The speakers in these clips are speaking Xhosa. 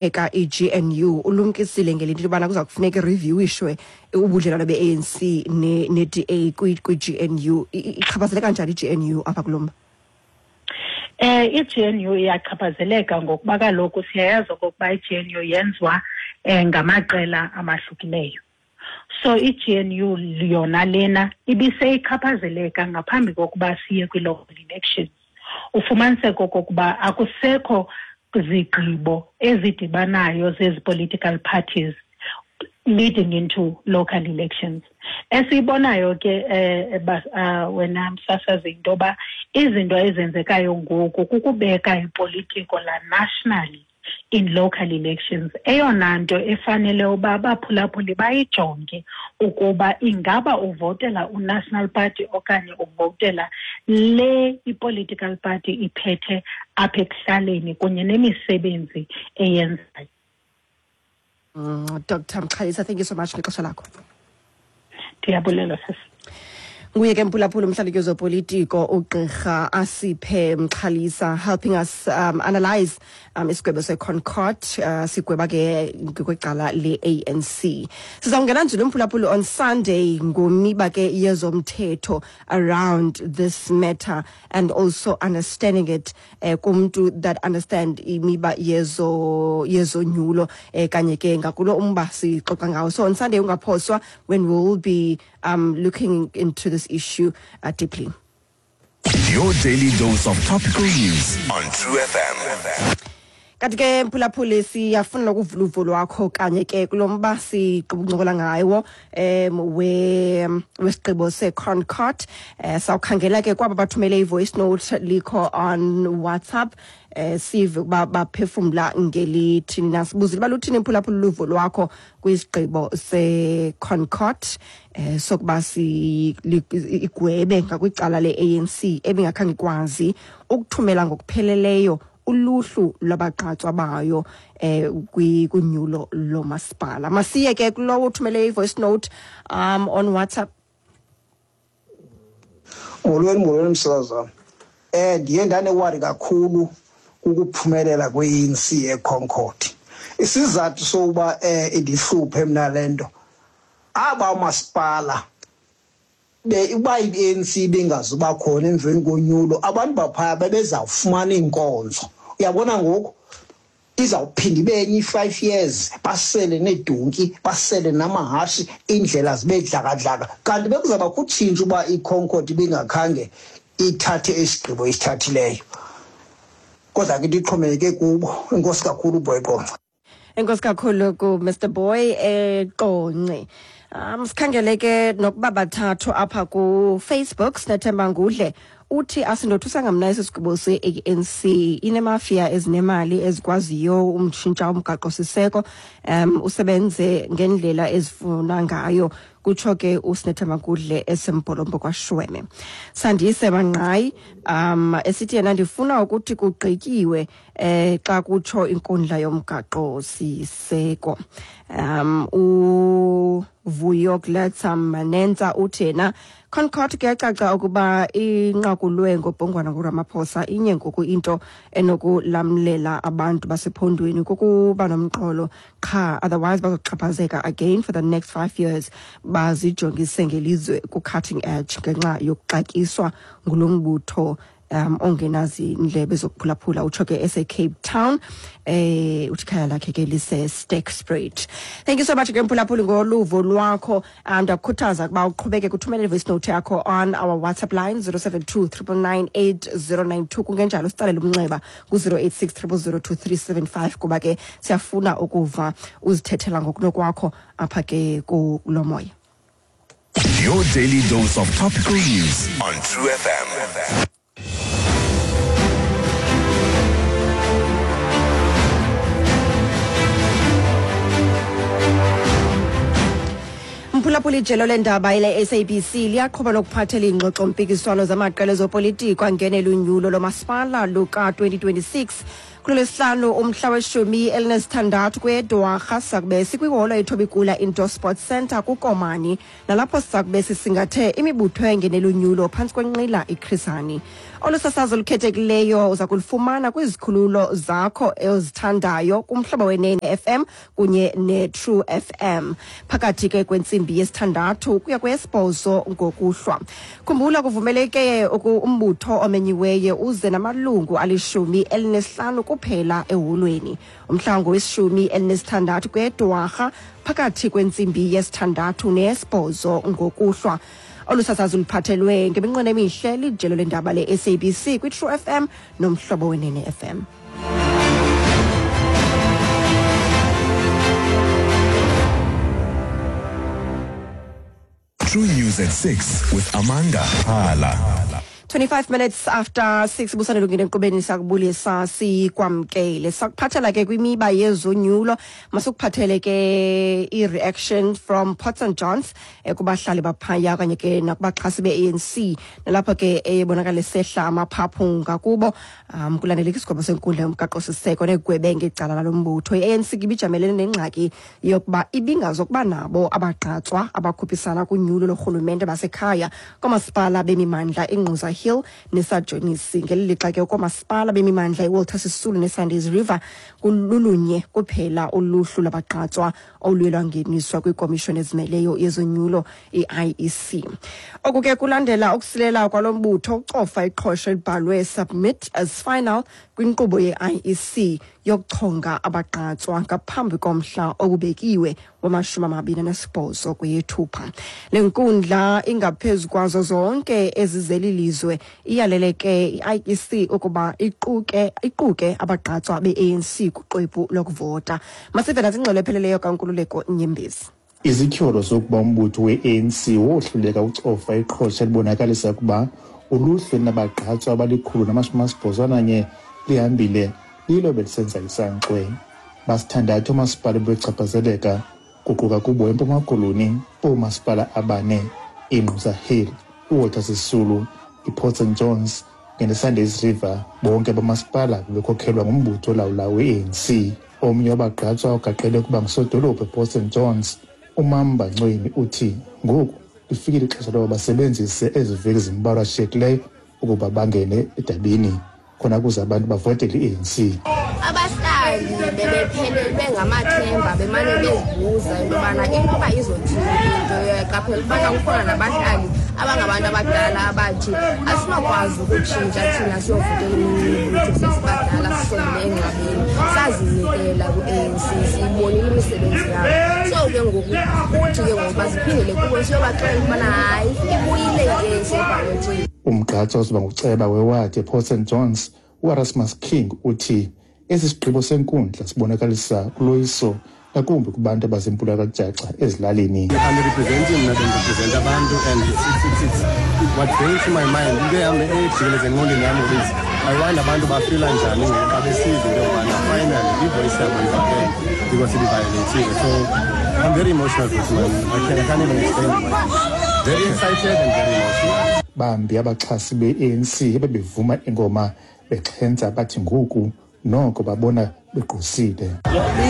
Eka i-GNU ulumkisile ngelithi into yobana kuza kufuneka ireviewishwe ubudlelwane be-ANC ne-DA kwi-GNU. Ichaphazeleka njani i-GNU apha kulo mba? I-GNU iyachaphazeleka ngokuba kaloku siyayazi okokuba i-GNU yenziwa ngamaqela amahlukileyo. So i-GNU yona lena ibiseyichaphazeleka ngaphambi kokuba siye kwi-local elections. Ufumaniseke okokuba akusekho zigqibo ezidibanayo zezi political parties leading into local elections. Esiyibonayo ke wena msasazi into yoba izinto ezenzekayo ngoku kukubeka ipolitiko la nationally in local elections. Eyona nto efanele uba abaphulaphuli bayijonge ukuba ingaba uvotela uNational Party okanye uvotela le i-political party iphethe apha ekuhlaleni kunye nemisebenzi eyenzayo. Dr Mxhalisa, thank you so much ngexesha lakho. Ndiyabulela sisi. Nguye ke mphulaphula umhlalutyi wezopolitiko ugqirha Asiphe Mxhalisa, helping us analyze isigwebo seConcourt, sigweba ke ngokwecala le-ANC. Sizawungena nzulu mphulaphula on Sunday ngomiba ke yezomthetho around this matter and also understanding it kumntu that understand imiba yezonyulo kanye ke ngakulo umba sixoxa ngawo. So on Sunday ungaphoswa when we will be looking into this issue deeply. Your daily dose of topical news on True FM. Kanti ke mphulaphuli siyafuna nokuvula uvo lwakho kanye ke kulo mba siqubuncokola ngawo wesigqibo seConcourt. Sawukhangela ke kwaba bathumele i-voice note likho on WhatsApp, sive ukuba baphefumla ngelithini na. Sibuzile uba luthini mphulaphuli luvo lwakho kwisigqibo seConcourt sokuba igwebe ngakwicala le-ANC ebingakhange ikwazi ukuthumela ngokupheleleyo uluhlu lwabagqatswa bayo kunyulo lomasipala. Masiye ke kulowo uthumele i-voice note on WhatsApp. Molweni, molweni msazana. Ndiye ndanewari kakhulu kukuphumelela kwe-ANC eConcourt. Isizathu sokuba indihluphe mna le nto, aba masipala uba i-ANC ibingazuba khona emveni konyulo, abantu baphaya bebezawufumana iinkonzo. Uyabona ngoku izawuphinda ibe enye i-5 years, basele needonki, basele namahashi, iindlela zibe dlakadlaka. Kanti bekuzawuba kutshintsho uba iConcourt ibingakhange ithathe isigqibo esithathileyo. Kodwa ke into ixhomekeke kubo. Enkosi kakhulu, Boy Qonce. Enkosi kakhulu ku Mr Boy eQonce. Sikhangele ke nokuba bathathu apha ku Facebook. Sinethemba Ngudle uthi asindothusanga mna esi sigqibo se-ANC, inemafia ezinemali ezikwaziyo umtshintsha umgaqo-siseko, usebenze ngendlela ezifuna ngayo, kutsho ke uSinethemba Ngudle eseMbholompo kwaShweme. Sandise Manqayi esithi yena ndifuna ukuthi kugqityiwe xa kutsho inkundla yomgaqo-siseko. UVuyo Gletsa Manentsa uthi yena Concourt kuyacaca ukuba inqakulwe ngobhongwana nguRamaphosa, inye ngoku into enokulamlela abantu basephondweni kukuba nomqolo qha, otherwise bazoxhaphazeka again for the next 5 years, bazijongise ngelizwe ku-cutting edge ngenxa yokuxatyiswa ngulo mbutho ongenazindlebe zokuphulaphula, utsho ke ese Cape Town, uthi ikhaya lakhe ke lise Sterkspruit. Thank you so much ke mphulaphuli ngoluvo lwakho. Ndiyakukhuthaza ukuba uqhubeke kuthumele voice note yakho on our WhatsApp line 072 999 8092, kungenjalo sitsalele umnxeba ku 086 000 2375, kuba ke siyafuna ukuva uzithethela ngokunokwakho apha ke kulo moya. Your daily dose of topical news on True FM. Mphulaphula, ijelo lendaba ile-SABC liyaqhuba nokuphathela iingxoxo-mpikiswano zamaqela ezopolitiko angenela unyulo lomasipala luka-2026. Kulolwesihlanu umhla weshumi elinesithandathu kweyeDwarha sakube sikwiholo iThobikula Indoor Sports Centre kuKomani, nalapho sakube sisingathe imibutho engenela unyulo phantsi kwenqila iChris Hani. Olu sasazo olukhethekileyo uza kulufumana kwizikhululo zakho ozithandayo kuMhlobo Wenene FM kunye neTrue FM phakathi ke kwentsimbi yesithandathu kuya kweyesibhozo ngokuhlwa. Khumbula, kuvumeleke umbutho omenyiweyo uze namalungu ali-15 kuphela eholweni. Umhlango weshumi elinesithandathu kweyeDwarha phakathi kwentsimbi yesithandathu neyesibhozo ngokuhlwa. Olu sasazo luphathelwe ngeminqweno emihle lijelo lendaba le-SABC kwi-True FM noMhlobo Wenene FM. True News at 6 with Amanda Hala. 25 minutes after 6, busane lungile enkqubeni, sakubulisa sikwamkele. Sakuphathela ke kwimiba yezonyulo, masukuphathele ke i-reaction from Port St Johns kubahlali baphaya okanye ke nakubaxhasi be-ANC, nalapho ke ebonakala esehla amaphaphu ngakubo kulandela isigwebo senkundla yomgaqo-siseko negwebe ngecala lalo mbutho. I-ANC ke ibijamelene nengxaki yokuba ibingazokuba nabo abagqatswa abakhuphisana kunyulo lorhulumente basekhaya koomasipala bemimandla iNgquza Hill neSajonisi, ngeli lixa ke koomasipala bemimandla iWalter Sisulu neSundays River kululunye kuphela uluhlu lwabagqatswa oluye lwangeniswa kwikomishoni ezimeleyo yezonyulo i-IEC. Oku ke kulandela ukusilela kwalo mbutho ucofa iqhosha elibhalwe "submit as final" kwinkqubo ye-IEC yokuchonga abagqatswa ngaphambi komhla obubekiwe wama-28 kweyeThupha. Le nkundla ingaphezu kwazo zonke ezizeli lizwe iyalele ke i-IEC ukuba iquke abagqatswa be-ANC kuxwebhu lokuvota. Masive nantsi ingxelo epheleleyo kaNkululeko Nyembezi. Izityholo zokuba umbutho we-ANC wohluleka ucofa iqhosha elibonakalisa ukuba uluhlu nabagqatswa abali-181 lihambile lilo belisenza isankxwe. Basithandathu oomasipala bebechaphazeleka, kuquka kubo eMpuma Koloni oomasipala abane, iNgquza Hill, uWalter Sisulu, iPort St Johns neSundays River. Bonke abamasipala bebekhokhelwa ngumbutho olawula we-ANC. Omnye wabagqatswa ogaqele ukuba ngusodolophu ePort St Johns, uMamba Ncweni, uthi ngoku lifikile ixesha loba basebenzise ezi veki zimbalwa zishiyekileyo ukuba bangene edabini khona kuze abantu bavotele i-ANC. Abahlali bebephelelwe ngamathemba, bemane bezibuza into yobana inoba izothini into. Uyaqaphela ukubana kukhona nabahlali abangabantu abadala abathi asinokwazi ukutshintsha thina siyovotela eminye imibutho, sesibadala, sisondele engcwabeni, sazinikela ku-ANC, siyibonile imisebenzi yabo. So ke ngoku kuthi ke ngoku masiphindele kubo siyobaxelela ukubana hayi, ibuyile i-ANC ebhalothini. Umgqatswa ozoba nguceba wewadi ePort St Johns, uErasmus King, uthi esi sigqibo senkundla sibonakalisa uloyiso, ngakumbi kubantu abazimpula kajaca ezilalini. Andirepresenti mna, bendirepresenta abantu and it's what going through my mind, into yam ejikeleze engqondweni yam is I wonder abantu bafila njani ngoku xa besiva into yokubana finally ivoice yabo ivakele because ibiviolatiwe. So I'm very emotional futhi, man. I can't even explain it. Very excited and very emotional. Bambi abaxhasi be-ANC ebebevuma ingoma bexhentsa bathi ngoku noko babona begqusile.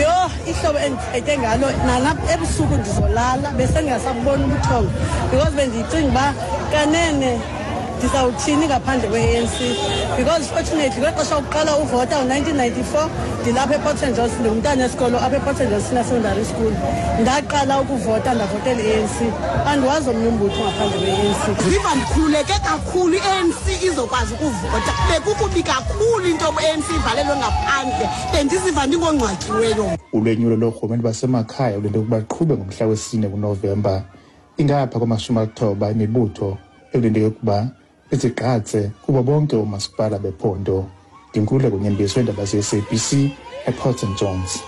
Yho, ihlobo endiphethe ngalo nalapha ebusuku ndizolala besendingasabuboni ubuthongo because bendiyicinga uba kanene ndizawuthini ngaphandle kwe-ANC, because fortunately kwexesha ukuqala uvota ngo-1994 ndilapha ePort St Johns, ndingumntana esikolo apha ePort St Johns Senior Secondary School, ndaqala ukuvota, ndavotela i-ANC. Andiwazi omnye umbutho ngaphandle kwe-ANC. Ziva ndikhululeke kakhulu, i-ANC izokwazi ukuvota. Bekukubi kakhulu into yoba-ANC ivalelwe ngaphandle, bendiziva ndingongcwatyiweyo. Ulwenyulo loorhulumente basemakhaya ulinde ukuba luqhube ngomhla wesi-4 kuNovemba. Ingapha kwama-90 imibutho ekulindeke ukuba izigqatse kubo bonke oomasipala bephondo. Ndinkululeko Nyembezi weendaba ze-SABC ePort St Johns.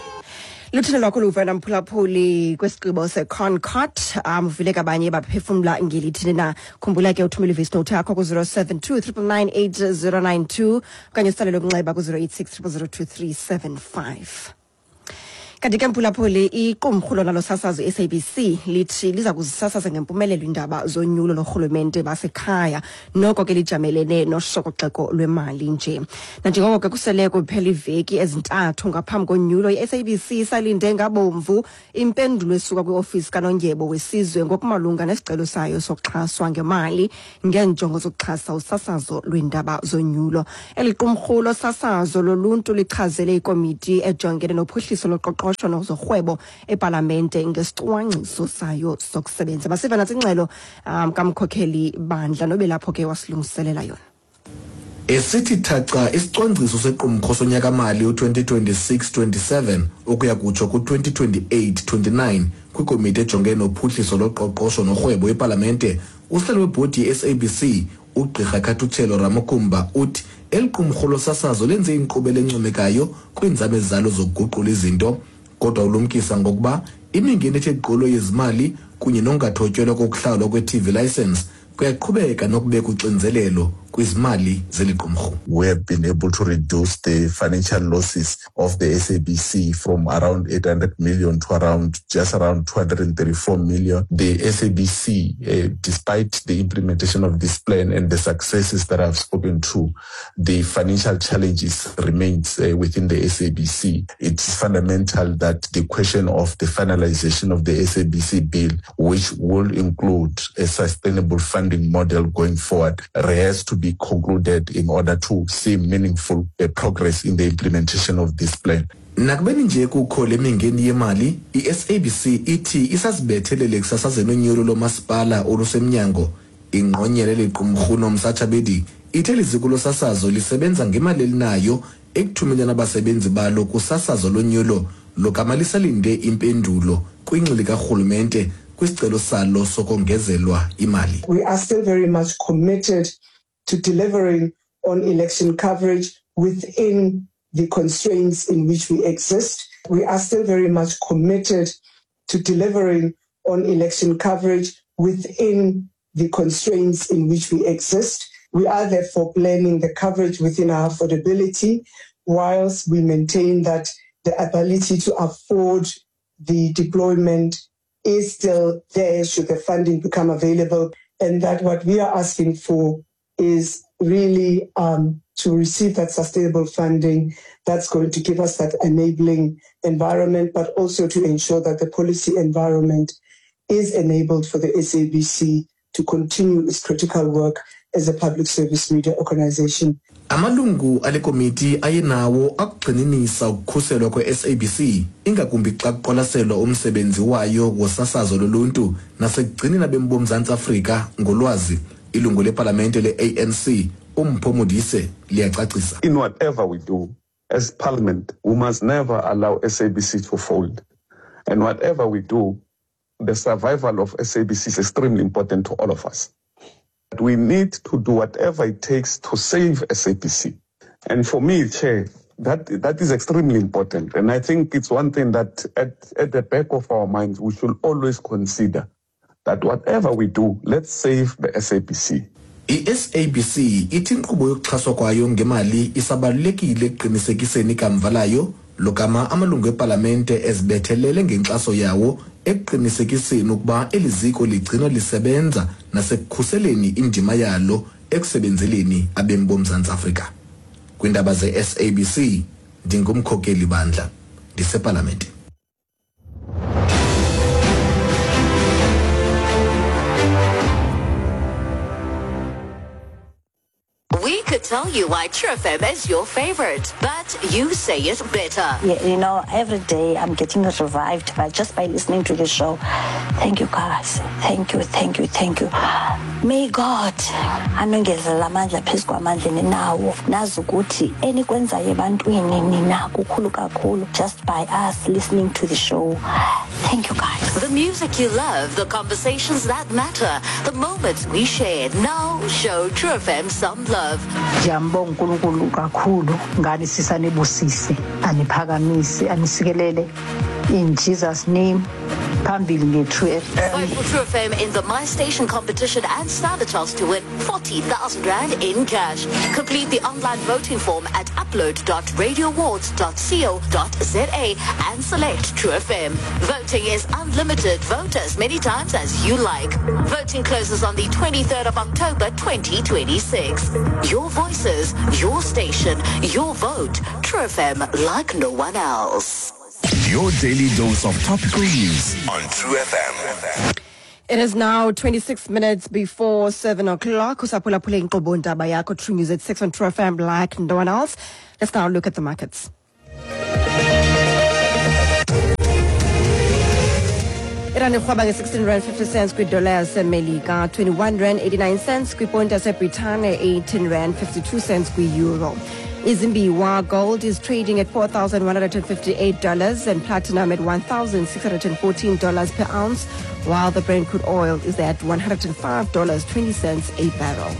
Luthando lwakho luva namphulaphuli kwesigqibo seConcourt. Uvile kabanye baphefumla ngelithini na. Khumbula ke uthumela ivoice note yakho ku-072 999 8092 okanye usalele ukunxeba ku-086 000 2375. Kanti ke, mphulaphuli, iqumrhu lona losasazo i-SABC lithi liza kuzisasaza ngempumelelo iindaba zonyulo lorhulumente basekhaya, noko ke lijamelene noshokoxeko lwemali nje. Nanjengoko ke kusele kuphela iiveki ezintathu ngaphambi konyulo, i-SABC isalinde ngabomvu impendulo esuka kwiofisi kaNondyebo wesizwe ngokumalunga nesicelo sayo sokuxhaswa ngemali ngeenjongo zokuxhasa usasazo lweendaba zonyulo. Eli qumrhu losasazo loluntu lichazele ikomiti ejongene nophuhliso loqoqosho nozorhwebo epalamente ngesicwangciso sayo sokusebenza. Masive nantsi ingxelo kamkhokheli bandla nobelapho ke wasilungiselela yona. Esithi thaca isicwangciso sequmrhu sonyaka-mali u-2026-27 ukuya kutsho ku-2028-29 kwikomiti ejongene nophuhliso loqoqosho norhwebo epalamente, usihlalo webhodi ye-SABC ugqirha Khathutshelo Ramukumba uthi eli qumrhu losasazo lenze inkqubela encomekayo kwiinzame zalo zokuguqula izinto, kodwa ulumkisa ngokuba imingeni ethe gqolo yezimali kunye nongathotyelwa kokuhlawulwa kwe-TV license kuyaqhubeka nokubeka uxinzelelo kwizimali zeli qumrhu. We have been able to reduce the financial losses of the SABC from around 800 million to around just around 234 million. The SABC, despite the implementation of this plan and the successes that I've spoken to, the financial challenges remains within the SABC. It's fundamental that the question of the finalization of the SABC bill, which will include a sustainable funding model going forward, has to be concluded in order to see meaningful progress in the implementation of this plan. Nakubeni nje kukho le mingeni yemali, i-SABC ithi isazibethelele kusasazeni unyulo lomasipala olusemnyango. Ingqonyela eliqumrhu Nomsa Chabedi ithe liziko losasazo lisebenza ngemali elinayo ekuthumeleni abasebenzi balo kusasazo lonyulo, logama lisalinde impendulo kwingxili karhulumente kwisicelo salo sokongezelwa imali. We are still very much committed to delivering on election coverage within the constraints in which we exist. We are still very much committed to delivering on election coverage within the constraints in which we exist. We are therefore planning the coverage within our affordability, whilst we maintain that the ability to afford the deployment is still there should the funding become available, and that what we are asking for is really to receive that sustainable funding that's going to give us that enabling environment, but also to ensure that the policy environment is enabled for the SABC to continue its critical work as a public service media organization. Amalungu ale komiti ayenawo akugxininisa ukukhuselwa kwe-SABC, ingakumbi xa kuqwalaselwa umsebenzi wayo wosasazo loluntu nasekugcineni abemi boMzantsi Afrika ngolwazi. Ilungu lepalamente le-ANC uMpho Modise liyacacisa. In whatever we do as parliament, we must never allow SABC to fold, and whatever we do, the survival of SABC is extremely important to all of us. We need to do whatever it takes to save SABC. And for me, Chair, that is extremely important. And I think it's one thing that at the back of our minds, we should always consider that whatever we do, let's save the SABC. I-SABC ithi inkqubo yokuxhaswa kwayo ngemali isabalulekile ekuqinisekiseni ikamva layo, logama amalungu epalamente ezibethelele ngenkxaso yawo ekuqinisekiseni ukuba eli ziko ligcinwa lisebenza nasekukhuseleni indima yalo ekusebenzeleni abemi boMzantsi Afrika. Kwiindaba ze-SABC, ndingumkhokeli bandla ndisepalamente. We could tell you why True FM is your favorite, but you say it better. Yeah, every day I'm getting revived by just by listening to the show. Thank you, guys. Thank you, thank you, thank you. May God anongezela amandla phezu kwamandla ninawo. Nazi ukuthi enikwenzayo ebantwini nina kukhulu kakhulu just by us listening to the show. Thank you, guys. The music you love, the conversations that matter, the moments we shared. Now show True FM some love. Ndiyambonga uNkulunkulu kakhulu ngani, sisanibusise, aniphakamise, anisikelele. In Jesus name, phambili nge-True FM. Vote for True FM in the My Station competition and stand a chance to win 40,000 Rand in cash. Complete the online voting form at upload.radioawards.co.za and select True FM. Voting is unlimited. Vote as many times as you like. Voting closes on the 23rd of October 2026. Your voices, your station, your vote. True FM like no one else. Your daily dose of topical news on True FM. It is now 26 minutes before 7 o'clock. Usaphulaphule inkqubo ndaba yakho True News at 6 on True FM like no one else. Let's now look at the markets. Irandi irhwaba nge-16 rand 50 cents kwidola yasemelika, 21 rand 89 cents kwiponti yasebritane, 18 rand 52 cents kwi-euro. Izimbiwa gold is trading at $4,158 and platinum at $1,614 per ounce, while the Brent crude oil is at $105.20 a barrel.